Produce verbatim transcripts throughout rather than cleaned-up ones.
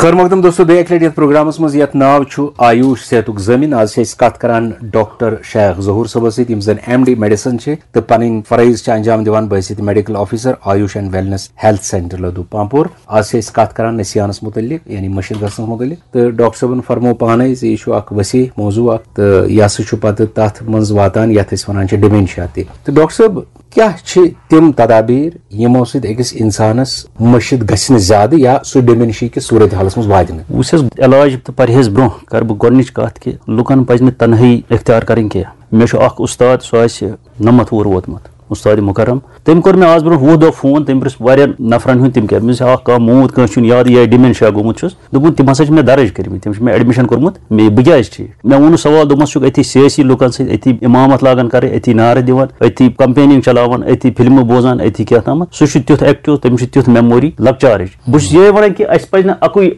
خٲر مقدم دوستو، بیٚیہِ اَکہِ لَٹہِ یَتھ پروگرامَس منٛز یَتھ ناو چھُ آیوش صحتُک ضٲمِن۔ آز چھِ أسۍ کَتھ کَران ڈاکٹر شیخ ظہور صٲبَس سۭتۍ، یِم زَن ایم ڈی میڈیسن چھِ تہٕ پَنٕنۍ فرٲیض چھِ انجام دِوان بحیثیت medical officer Ayush and wellness health centre Ladoo Pampore. آز چھِ أسۍ کَتھ کَران نسیانَس مُتعلِق، یعنی مٔشِد گژھنَس مُتعلِق۔ تہٕ ڈاکٹر صٲبَن فرموو پانَے زِ یہِ چھُ اَکھ وسیع موضوع اَکھ، تہٕ یہِ ہسا چھُ پَتہٕ تَتھ منٛز واتان یَتھ أسۍ وَنان چھِ ڈیمینشیا تہِ۔ تہٕ ڈاکٹر صٲب، کیٛاہ چھِ تِم تدابیر یِمو سۭتۍ أکِس اِنسانَس مٔشِد گژھِ نہٕ زیادٕ یا سُہ ڈیمینشیا کِس صوٗرت حالَس منٛز واتہِ نہٕ؟ وٕچھ حظ، علاج تہٕ پرہیز برونٛہہ کَرٕ بہٕ گۄڈٕنِچ کَتھ کہِ لُکَن پَزِ نہٕ تنہٲیی اختیار کَرٕنۍ کینٛہہ۔ مےٚ چھُ اَکھ اُستاد، سُہ آسہِ نَمَتھ وُہُر ووتمُت، اُستاد مُکرم۔ تٔمۍ کوٚر مےٚ آز برونٛہہ وُہ دۄہ فون، تٔمۍ پرٛژھ واریاہَن نفرَن ہُنٛد، تِم کیٛاہ، مےٚ دوٚپُس، اَکھ کانٛہہ موٗد، کٲنٛسہِ چھُنہٕ یاد، یہِ ڈیمینشیا گوٚمُت چھُس۔ دوٚپُن، تِم ہسا چھِ مےٚ درٕج کٔرمٕتۍ، تِم چھِ مےٚ ایڈمِشن کوٚرمُت، مےٚ، بہٕ کیٛازِ ٹھیٖک؟ مےٚ ووٚنُس سوال، دوٚپمَس، ژٕ چھُکھ أتھی سیٲسی لُکن سۭتۍ، أتھی اِمامت لاگان کَرٕنۍ، أتھی نعرٕ دِوان، أتھی کمپیننگ چلاوان، أتھی فلمہٕ بوزان، أتھی کیٛاہ تامَتھ۔ سُہ چھُ تیُتھ ایکٹیو، تٔمِس چھُ تیُتھ میموری لۄکچارٕچ۔ بہٕ چھُس یِہوٚے وَنان کہِ اَسہِ پَزِ نہٕ اَکُے،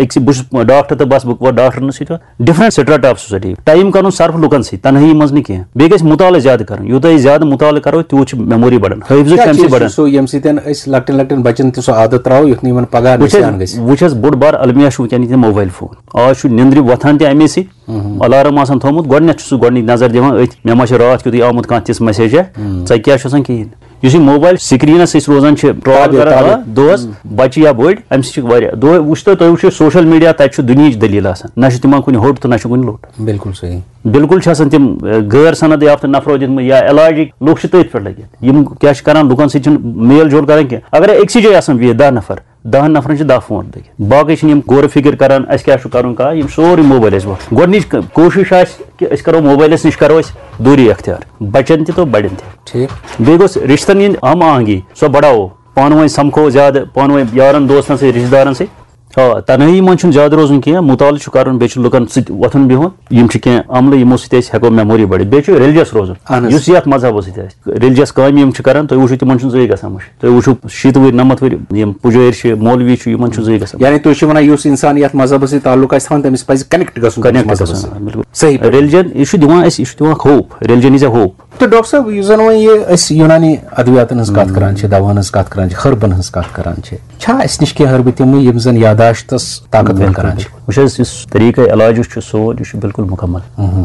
أکسٕے، بہٕ چھُس ڈاکٹر تہٕ بس، بہٕ وَنہٕ ڈاکٹرَن سۭتۍ یوت۔ ڈفرنٹ سٹریٹا آف سوسائٹی، ٹائم کَرُن صرف لُکن سۭتۍ، تنہٲیی منٛز نہٕ کینٛہہ۔ بیٚیہِ گژھِ مُطالعہٕ زیادٕ کَرُن، یوٗتاہ أسۍ زیادٕ مُطالعہٕ کَرو، تیوٗت چھُ میموری بَڑان، حٲفظٕچ کیٛاہ اَمہِ سۭتۍ چیٖز چھُ بَڑان۔ سُہ، ییٚمہِ سۭتۍ أسۍ لۄکٹٮ۪ن لۄکٹٮ۪ن بَچَن تہِ سُہ عادت ترٛاوو، یُتھ نہٕ یِمَن پَگاہ وٕچھ حظ، نِسیان گژھِ؟ وٕچھ حظ، بوٚڑ بار المیہ چھُ وٕنکیٚن ییٚتہِ موبایل فون۔ آز چھُ نیٚنٛدرِ وۄتھان تہِ اَمے سۭتۍ، الارم آسان تھوٚومُت، گۄڈٕنٮ۪تھ چھُ سُہ گۄڈٕنِچ نظر دِوان أتھۍ، مےٚ ما چھِ راتھ کیُتھُے آمُت کانٛہہ تِژھ میسیجا، ژےٚ کیٛاہ چھُ آسان کِہیٖنۍ۔ یُس یہِ موبایل سکریٖنَس أسۍ روزان چھِ ٹرٛال تابع، کران، تابع۔ آ، دۄہَس، بَچہِ یا بٔڑۍ، اَمہِ سۭتۍ چھِ واریاہ، دۄہ وٕچھ تُہۍ، تُہۍ وٕچھِو سوشل میڈیا، تَتہِ چھُ دُنیہٕچ دٔلیٖل آسان، نہ چھُ تِمن کُنہِ ہوٚٹ تہٕ نہ چھُ کُنہِ لوٚٹ۔ بِلکُل صحیح۔ بِلکُل چھِ آسان تِم، اَ، غٲر سند یافتہٕ نفرو دِتمٕتۍ یا علاجِکۍ لُکھ چھِ تٔتھۍ پٮ۪ٹھ لٔگِتھ۔ یِم کیٛاہ چھِ کران، لُکن سۭتۍ چھِنہٕ میل جول کران کینٛہہ۔ اگرے أکسٕے جایہِ آسن بِہِتھ دَہ نفر، دَہن نفرن چھِ دَہ فون لٔگِتھ، باقٕے چھِنہٕ یِم غور و فکر کران اَسہِ کیٛاہ چھُ کرُن، کانٛہہ، یِم سورُے موبایلَس وۄتھ۔ گۄڈٕنِچ ک-، کوٗشِش آسہِ کہِ أسۍ کرو موبایلَس نِش، کرو أسۍ دوٗری اختیار، بَچَن تہِ تہٕ بَڑٮ۪ن تہِ۔ ٹھیٖک۔ بیٚیہِ گوٚژھ رِشتَن ہِنٛدۍ ہم آہنگی، سۄ بَڑاوو۔ پانہٕ ؤنۍ سَمکھو زیادٕ، پانہٕ ؤنۍ یارَن دوستَن سۭتۍ، رِشتہٕ دارَن سۭتۍ۔ آ، تنہٲیی منٛز چھُنہٕ زیادٕ روزُن کینٛہہ، مُطالعہٕ چھُ کَرُن، بیٚیہِ چھُ لُکَن سۭتۍ وۄتھُن بِہُن۔ یِم چھِ کینٛہہ عملہٕ، یِمو سۭتۍ أسۍ ہٮ۪کو میموری بٔڑِتھ۔ بیٚیہِ چھُ ریلیجس روزُن، اہن حظ۔ یُس یَتھ مذہبَس سۭتۍ آسہِ۔ ریلیجس کامہِ یِم چھِ کَران، تُہۍ وٕچھِو، تِمَن چھُنہٕ زٕہٕے گژھان مُشکِل۔ تُہۍ وٕچھِو، شیٖتہٕ وٕہٕرۍ، نَمَتھ وٕہٕرۍ یِم پُجٲرۍ چھِ، مولوی چھِ، یِمَن چھُنہٕ زٕہٕے گژھان۔ یعنی تُہۍ چھِو وَنان، یُس اِنسان یَتھ مذہبَس سۭتۍ تعلق آسہِ تھاوان، تٔمِس پَزِ کنیکٹ گژھُن تٔمِس کنیکٹ مذہبَس گژھُن، سۭتۍ۔ آ، بِلکُل۔ صحیح پٲٹھۍ۔ ریلیجن، یہِ چھُ دِوان اَسہِ، یہِ چھُ دِوان hope, religion is A hope. تہٕ ڈاکٹر صٲب، یُس زَن وۄنۍ یہِ أسۍ یوٗنانی ادویاتَن ہٕنٛز کَتھ کران چھِ، دَوہَن ہٕنٛز کَتھ کران چھِ، ہربَن ہٕنٛز کَتھ کران چھِ، چھا اَسہِ نِش کینٛہہ ہربہٕ تِمہٕ، یِم زَن یاداشتَس طاقتور بِلکُل، کران چھِ؟ بِلکُل۔ وٕچھ حظ، یُس طریٖقہ علاج یُس چھُ سون، یہِ چھُ بِلکُل مُکمل۔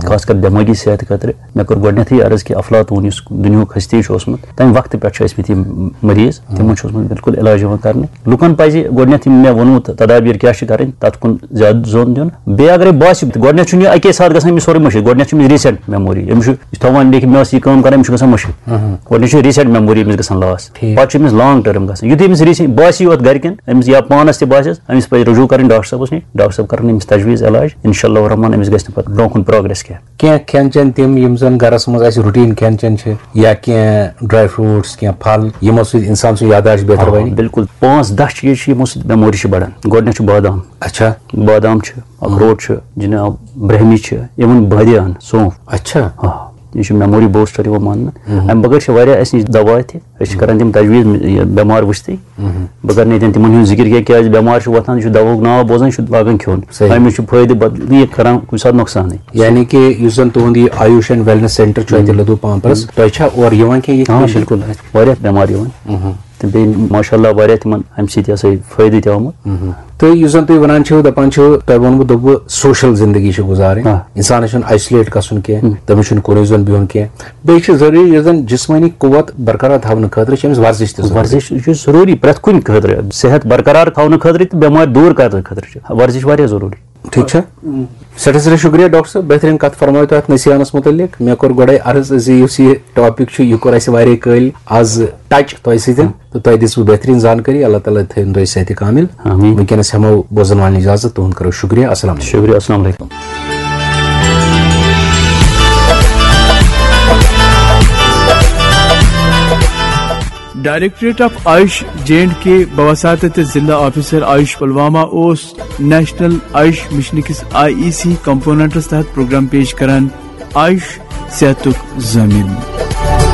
خاص کر دٮ۪مٲغی صحت خٲطرٕ۔ مےٚ کوٚر گۄڈٕنٮ۪تھٕے عرض کہِ افلاطون یُس دُنیاہُک ہستی چھُ اوسمُت، تَمہِ وقتہٕ پٮ۪ٹھ چھِ ٲسمٕتۍ یِم مریض، تِمن چھُ اوسمُت بِلکُل علاج یِوان کرنہٕ۔ لُکن پَزِ گۄڈٕنٮ۪تھ یِم مےٚ ووٚنمُت تدابیر کیٛاہ چھِ کرٕنۍ، تَتھ کُن زیادٕ زون دیُن۔ بیٚیہِ اگرے باسہِ، گۄڈٕنٮ۪تھ چھُنہٕ یہِ اَکے ساتہٕ گژھان أمِس سورُے مٔشِتھ، گۄڈٕنٮ۪تھ چھُ أمِس ریٖسنٹ میموری، أمِس چھُ، یہِ چھُ تھاوان لیکھِتھ، مےٚ ٲس یہِ کٲم کرٕنۍ، أمِس چھُ گژھان مٔشِتھ۔ گۄڈٕنٮ۪تھ چھُ ریٖسنٹ میموری أمِس گژھان لاس، ٹھیٖک۔ پَتہٕ چھُ أمِس لانگ ٹٔرم گژھان۔ یُتھُے أمِس ریٖسنٹ باسہِ یوت گرِکٮ۪ن، أمِس یا پانَس تہِ باسٮ۪س، أمِس پَزِ رجوع کَرٕنۍ ڈاکٹر صٲبَس نِش، ڈاکٹر صٲب کَرَن أمِس تجویٖز علاج، انشاء اللہ الرحمن أمِس گژھِ نہٕ پَتہٕ برونٛہہ کُن پروگریس کینٛہہ۔ کینٛہہ کھٮ۪ن چٮ۪ن تِم، یِم زَن گَرَس منٛز اَسہِ روٹیٖن کھٮ۪ن چٮ۪ن چھِ، یا کینٛہہ ڈراے فروٹس، کینٛہہ پھل، یِمو سۭتۍ اِنسان سُنٛد یاداشت بہتر آ، بَنہِ؟ بِلکُل۔ پانٛژھ دَہ چیٖز چھِ، یِمو سۭتۍ میموری چھِ بَڑان۔ گۄڈٕنٮ۪تھ چھُ بادام۔ اچھا۔ بادام چھِ، اخروٹ چھُ، جِناب، برہمی چھِ، even بٲدیان، سونٛف۔ اچھا۔ آ، یہِ چھُ میموری بوسٹر یِوان ماننہٕ۔ اَمہِ بغٲر چھِ واریاہ اَسہِ نِش دوا تہِ۔ أسۍ چھِ کران تِم تجویٖز، یہِ بٮ۪مار وٕچھتٕے۔ بہٕ کرٕ نہٕ ییٚتٮ۪ن تِمن ہُنٛد ذِکِر کینٛہہ، کیٛازِ بٮ۪مار چھُ وۄتھان، یہِ چھُ دواہُک ناو بوزان، یہِ چھُ لاگان کھیوٚن۔ صحیح۔ أمِس چھُ فٲیدٕ، بد-، یہِ کران کُنہِ ساتہٕ نۄقصانٕے۔ یعنی کہِ یُس زن تُہُنٛد یہِ آیوش اینڈ ویلنس سینٹر چھُ اَتہِ لدو پامپرس، تۄہہِ چھا اورٕ یِوان کینٛہہ یِتھ آ، پٲٹھۍ؟ بِلکُل، اَسہِ چھِ واریاہ بٮ۪مار یِوان۔ تہٕ بیٚیہِ ماشاء اللہ واریاہ تِمن اَمہِ سۭتۍ یہِ ہسا یہِ فٲیدٕ تہِ آمُت۔ تہٕ یُس زن تُہۍ ونان چھِو، دپان چھِو، تۄہہِ ووٚنوٕ، دوٚپوٕ سوشل زندگی چھِ گُزارٕنۍ، آ۔ انسانس چھُنہٕ آیسولیٹ گژھُن کینٛہہ، تٔمِس چھُنہٕ کُنُے زوٚن بِہُن کینٛہہ۔ بیٚیہِ چھِ ضروٗری، یُس زن جسمٲنی قوت برقرار تھاونہٕ خٲطرٕ چھِ أمِس ورزش تہِ ضروٗری۔ ورزش چھُ ضروٗری پرٛٮ۪تھ کُنہِ خٲطرٕ، صحت برقرار تھاونہٕ خٲطرٕ تہٕ بٮ۪مارِ دوٗر کرنہٕ خٲطرٕ چھِ ورزش واریاہ ضروٗری۔ ٹھیٖک چھا؟ سٮ۪ٹھاہ سٮ۪ٹھاہ شُکریہ ڈاکٹر صٲب، بہتریٖن کتھ فرمٲیو تۄہہِ اتھ نسیانس مُتعلق۔ مےٚ کوٚر گۄڈے عرض زِ یُس یہِ ٹاپک چھُ، یہِ کوٚر اسہِ واریاہ کٲلۍ از ٹچ تۄہہِ سۭتۍ، تہٕ تۄہہِ دِژوٕ بہتریٖن زانکٲری۔ اللہ تعالیٰ تھٲیِن تۄہہِ صحتِ کامل۔ آمین۔ وٕنکیٚنس ہٮ۪مو بوزن والٮ۪ن اجازت، تُہُنٛد کرو شُکریہ۔ السلام علیکم۔ شُکریہ، السلام علیکم۔ Directorate of Ayush J and K بواسطہ ضلع آفیسر آیوش پلوامہ اوس نیشنل آیوش مشن کِس آئی ای سی کمپوننٹس تحت پروگرام پیش کران، آیوش صحتُک ضٲمن۔